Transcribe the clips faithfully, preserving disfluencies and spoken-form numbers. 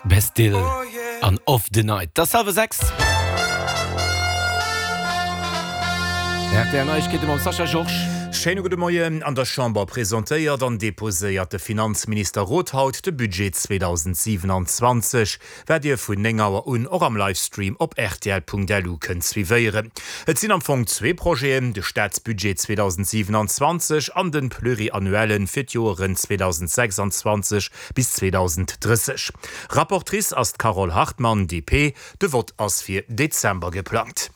Bastille an Of The Night. 't ass hallwer sechs. R T L Neiegkeete mam Sascha Georges. Schéine gudde Moien. An der Chamber presentéiert an deposéiert de Finanzminister Roth haut de Budget zweedausendsiewenanzwanzeg, wat Dir vun néng Auer un och am Livestream op rtl Punkt L U kënnt suivéieren. Et sinn am Fong zwee Projeten, de Staatsbudget zweedausendsiewenanzwanzeg an den Pluriannuellen fir d'Joeren zweedausendsechsanzwanzeg bis zweedausenddrësseg. Rapportrice ass d'Carole Hartmann, D P. De Vott ass fir Dezember geplangt.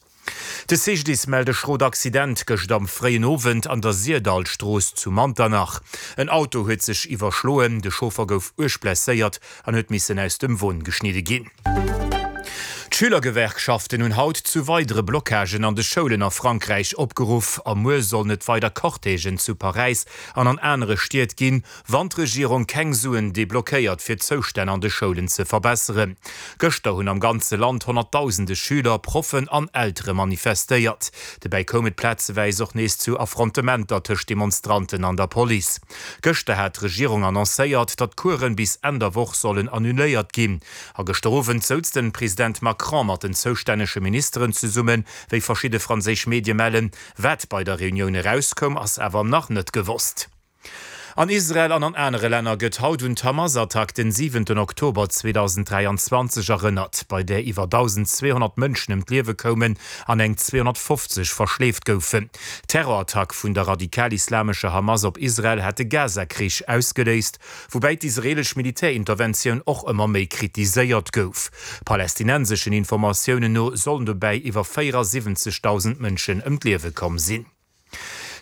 De C G D I S mellt e schrot Accident gëscht am fréien Owend an der Syrdallstrooss zu Manternach. En Auto huet sech iwwerschloen, de Chauffer gouf uerg blesséiert an huet missen aus dem Won geschnidde ginn. D'Schülergewerkschaften hunn haut zu weidere Blockagen an de Schoulen a Frankräich opgeruff a muer sollen et weider Cortègen zu Paräis an an anere Stied ginn, wann d'Regierung keng Suen deblockéiert fir d'Zoustänn an de Schoulen ze verbesseren. Gëschter hunn am ganze Land honnertdausende Schüler, Proffen an Eltere manifestéiert. Dobäi koum et plazeweis och nees zu Affrontementer tëscht Demonstranten an der Police. Gëschter hat d'Regierung annoncéiert, datt d'Coursen bis Enn der Woch sollen annuléiert ginn. A gëschter Owend souz den President Macron mat den zoustännege Ministeren zesummen, wéi verschidde franséisch Medie mellen. Wat bei der Reunioun erauskoum, ass awer nach net gewosst. An Israel an an anere Länner gëtt haut un d'Hamas-Attack den siwenten Oktober zweedausenddräianzwanzeg erënnert, bei där iwwer dausendzweehonnert Mënschen ëm d'Liewe koumen an eng zweehonnertfofzeg verschleeft goufen. D'Terrorattack vun der radikal-islamescher Hamas op Israel hat de Gaza-Krich ausgeléist, woubäi d'israeelesch Militärinterventioun och ëmmer méi kritiséiert gouf. Palästinenseschen Informatiounen no sollen dobäi iwwer véierasiwwenzegdausend Mënschen ëm d'Liewe komm sinn.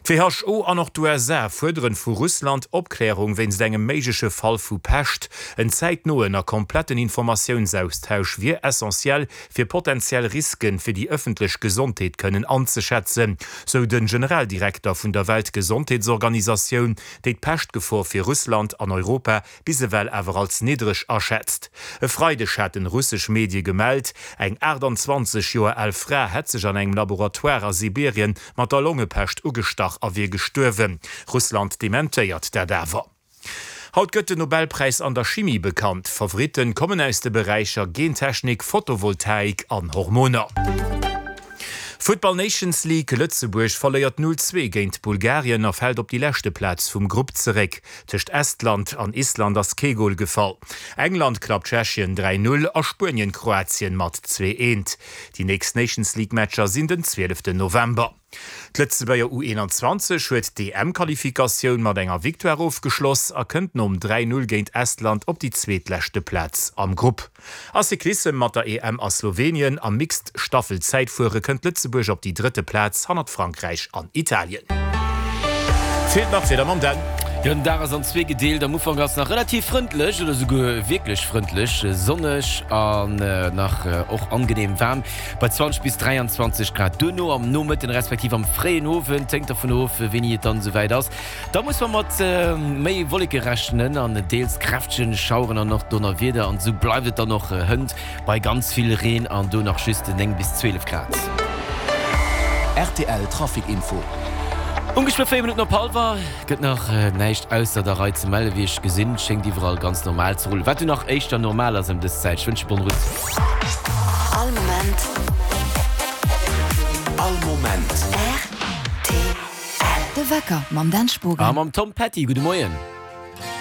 D'W H O an och d'U S A fuerderen vu Russland Opklärung wéinst engem méigleche Fall vu Pescht. En zäitnoen a kompletten Informatiounsaustausch wier essentiell, fir potentiell Risken fir déi ëffentlech Gesondheet kënnen anzeschätzen, sou de Generaldirekter vun der Weltgesondheetsorganisatioun, déi d'Peschtgefor fir Russland an Europa bis ewell awer als niddreg aschätzt. E Freideg haten russesch Medie gemellt, eng aachtanzwanzeg Joer al Fra hätt sech an engem Laboratoire a Sibirien mat der Longepescht ugestach a wier gestuerwen. Russland dementéiert dat awer. Haut gëtt den Nobelpräis an der Chimie bekannt. D'Favoritten kommen aus de Beräicher Gentechnik, Photovoltaik an Hormoner. Futtball Nations League, Lëtzebuerg verléiert null zwee géint Bulgarien a fält op déi leschte Plaz vum Grupp zeréck. Tëscht Estland an Island ass kee Gol gefall. England klappt Tschechien dräi null a Spuenien Kroatien mat zwee eent. Déi nächst Nations League Matcher sinn den zwieleften November. D'Lëtzebuerger U eenanzwanzeg huet d'E M-Qualifikatioun mat enger Victoire ofgeschloss a kënnt nom dräi null géint Estland op déi zweetleschte Plaz am Grupp. A Cyclissem, Mat der E M a Slowenien am Mixed Staffel-Zäitfuere kënnt Lëtzebuerg op déi drëtte Plaz hannert Frankräich an Italien. Feelt nach d'Wieder mam Dan. Jo, den Dag ass an zwee gedeelt. Am Ufank ass nach relativ frëndlech oder souguer wierklech frëndlech, sonneg an nach och angenehm waarm bei zwanzeg bis dräianzwanzeg Grad. Duerno am Nomëtten respektiv am fréien Owend, hänkt dervun of wéini et dann esouwäit ass, da muss mer mat méi Wolleke rechnen an deels kräftegen Schaueren an och Donnerwieder. An esou bleift et dann och hënt bei ganz vill Reen an do nach just néng bis zwielef Grad. R T L Trafic Info. Ongeféier véier Minutten op hallwer. Gëtt nach näischt ausser der Rei ze mellen, wéi ech gesinn. Schéngt iwwerall ganz normal ze rullen, wat jo nach éischter normal ass ëm dës Zäit. Ech wënsche bonne route. All Moment. All Moment. R T L. De Wecker mam Dan Spogen. A mam Tom Petty. Gudde Moien.